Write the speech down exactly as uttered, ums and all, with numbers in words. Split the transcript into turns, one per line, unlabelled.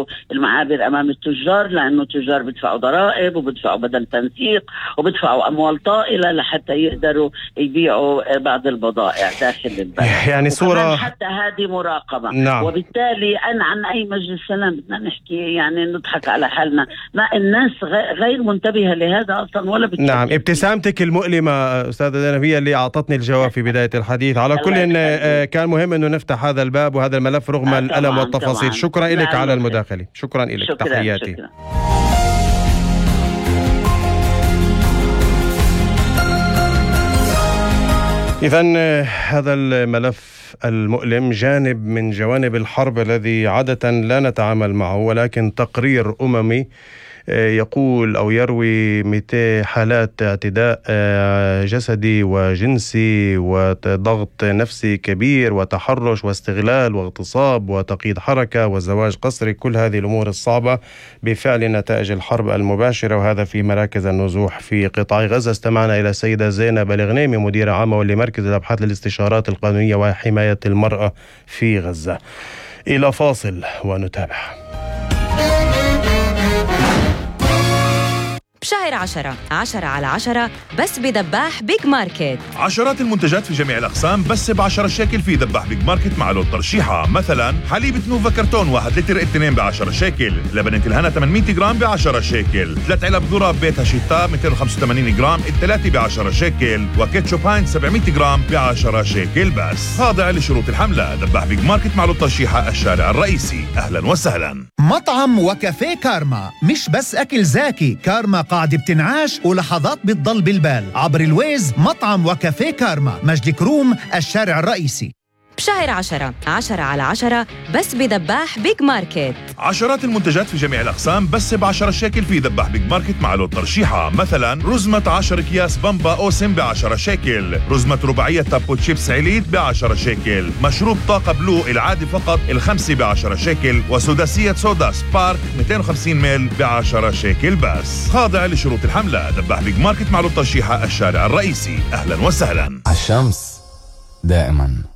يفتحوا المعابر أمام التجار، لأنه التجار بدفعوا ضرائب وبدفعوا بدل تنسيق وبدفعوا أموال طائلة لحتى يقدروا يبيعوا بعض البضائع داخل البلد.
يعني صورة
حتى هذه مراقبة.
نعم.
وبالتالي أنا عن أي مجلس سلام بدنا نحكي يعني نضحك على حالنا، ما الناس غير منتبهة لهذا أصلا ولا بتشكل.
نعم، ابتسامتك المؤلمة أستاذة زينب هي اللي أعطتني الجواب في بداية الحديث. على كل إن كان مهم أنه نفتح هذا الباب وهذا الملف رغم آه الألم والتفاصيل. طبعاً. شكرا لك على المداخلة. شكرا لك.
شكرا.
تحياتي.
شكرا.
إذن هذا الملف المؤلم جانب من جوانب الحرب الذي عادة لا نتعامل معه، ولكن تقرير أممي يقول أو يروي مئتين حالات اعتداء جسدي وجنسي وضغط نفسي كبير وتحرش واستغلال واغتصاب وتقييد حركة وزواج قسري، كل هذه الأمور الصعبة بفعل نتائج الحرب المباشرة، وهذا في مراكز النزوح في قطاع غزة. استمعنا إلى السيدة زينب الغنيمي مديرة عامة لمركز الأبحاث للاستشارات القانونية وحماية المرأة في غزة. إلى فاصل ونتابع.
بشهر عشرة عشرة على عشرة بس بدباح بيج ماركت.
عشرات المنتجات في جميع الأقسام بس بعشرة شيكل في دباح بيج ماركت مع لون ترشيحة. مثلا حليب نوفا كرتون واحد لتر اثنين بعشرة شيكل، لبن الهنا ثمانمئة جرام بعشرة شيكل، ثلاث علب ذرة بيت هاشيتا مئتين وخمسة وثمانين جرام الثلاثة بعشرة شيكل، وكيتشوب هاينز سبعمئة جرام بعشرة شيكل بس. خاضع لشروط الحملة. دباح بيج ماركت مع لون ترشيحة الشارع الرئيسي. أهلا وسهلا.
مطعم وكافيه كارما، مش بس أكل زاكي، كارما قاعدة بتنعاش ولحظات بتضل بالبال. عبر الويز مطعم وكافيه كارما، مجد كروم الشارع الرئيسي.
بشهر عشرة عشرة على عشرة بس بدباح بيج ماركت.
عشرات المنتجات في جميع الأقسام بس بعشرة شيكل في دباح بيج ماركت مع لون ترشيحة. مثلا رزمة عشر أكياس بامبا أوسم بعشرة شيكل، رزمة رباعية تابو تشيبس عليت بعشرة شيكل، مشروب طاقة بلو العادي فقط الخمسة بعشرة شيكل، وسداسية صودا سبارك مئتين وخمسين ميل بعشرة شيكل بس. خاضع لشروط الحملة. دباح بيج ماركت مع لون ترشيحة الشارع الرئيسي. أهلا وسهلا.
الشمس دائما